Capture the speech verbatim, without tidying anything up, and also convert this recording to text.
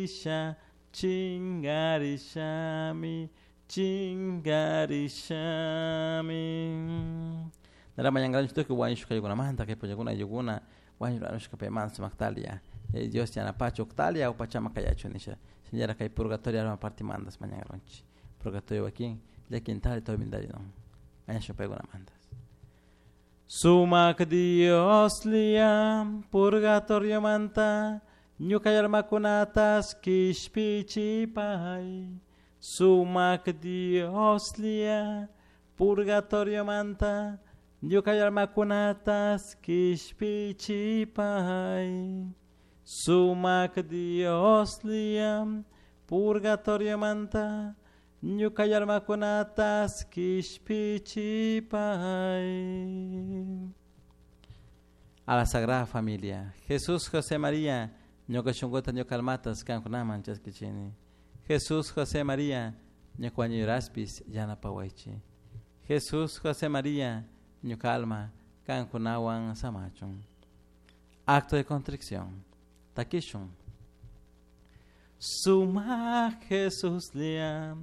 Chingarisha, chingarishami, chingarishami. Nara mañankaranchik tukuy wañushkaykunamanta kay punllakuna ayllukuna wañuranushka paymanta sumaktalia Dios yanapachu uqtalia upachama kayachu nisha shinallara kay purgatorio alma partimantas mañankaranchik purgatorio wakin llakintari tormentari no mañashun paykunamantas. Sumak Dioslla purgatoriomanta ñuka almakunatas kishpichipay. Sumak Dioslla purgatoriomanta ñuka almakunatas kishpichipay. Sumak Dioslla purgatoriomanta ñuka almakunatas kishpichipay. A la Sagrada Familia, Jesús, José, María, ñuka shunkuta ñuka almatas kankunaman chaskichini. Jesús, José, María, ñuka wañuyraspis yanapawaychik. Jesús, José, María, ñuka alma kankunawan samachun. Acto de contrición. Takishun. Sumak Jesuslla